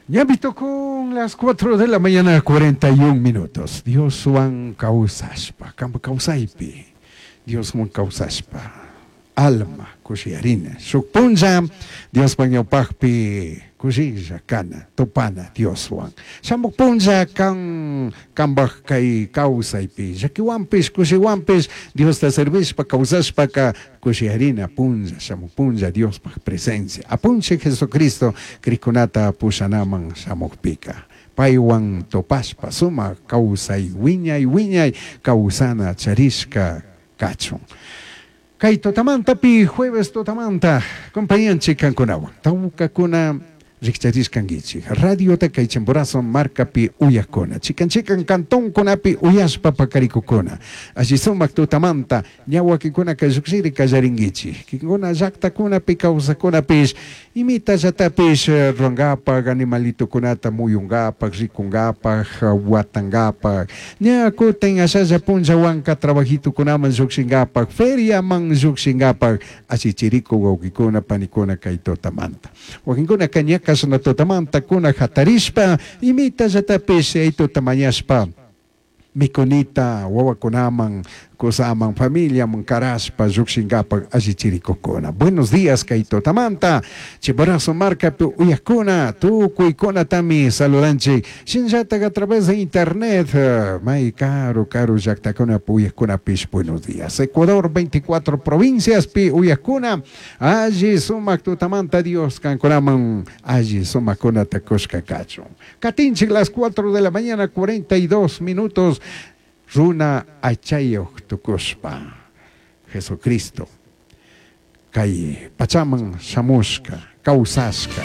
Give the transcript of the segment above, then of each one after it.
Ñami tukun las 4 de la mañana 41 minutos. Dioswan kawsashpa, kanpa kawsaypi Dioswan kawsashpa, alma kushiyarina. Shuk punlla Diospa ñawpakpi kushilla kana, tupana Dioswan. Shamuk punlla kan kanpak kay kawsaypi, llakiwanpish, kushiwanpish Diosta servishpa kawsashpaka kushiyarina punlla, shamuk punlla Diospaj presencia. Apunchik Jesucristo krikunata pushanaman shamukpika. Paywan tupashpa sumak kawsay wiñay wiñay kawsana charishka kachun. Kay tutamantapi jueves tutamanta compañanchik kankunawan tawkakuna rikcharishkankichik radiota kay Chimborazo markapi uyakuna chikan chikan cantonkunapi uyashpa pakarikukuna alli sumak tutamanta ña wakinkunaka llukshiri kallarinkichik kinkuna llaktakunapi kawsakunapish imitallatapish rurankapak animalitokunata muyunkapak rikunkapak watankapak ña kutin ashalla punllawanka trabajitukunaman llukshinkapak feriaman llukshinkapak allichirikuk wawkikuna panikuna kay tutamanta wakinkunaka ña kashna tutamanta kuna hatarishpa imitallatapish yaytuta mañashpa mikunita wawakunaman kusaman familiaman karashpa llukshinkapak allichirikukuna. Buenos días kay tutamanta Chimborazo markapi uyakuna tukuykunatami saludanchik shinallatak a través de internet may karu karu llaktakunapi uyakkunapish buenos días. Ecuador 24 provinciaspi uyakuna alli sumak tutamanta Dios kankunaman alli sumakkunata kushka kachun. Katinchik las 4 de la mañana 42 minutos runa aychayuq tukushpa Jesucristo kay pachaman shamushka kawsashka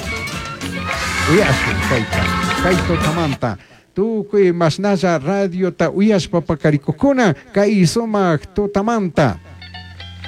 uyashun kayta kay tutamanta tukuy mashnalla radiota uyashpa pakarikukuna kay sumak tutamanta.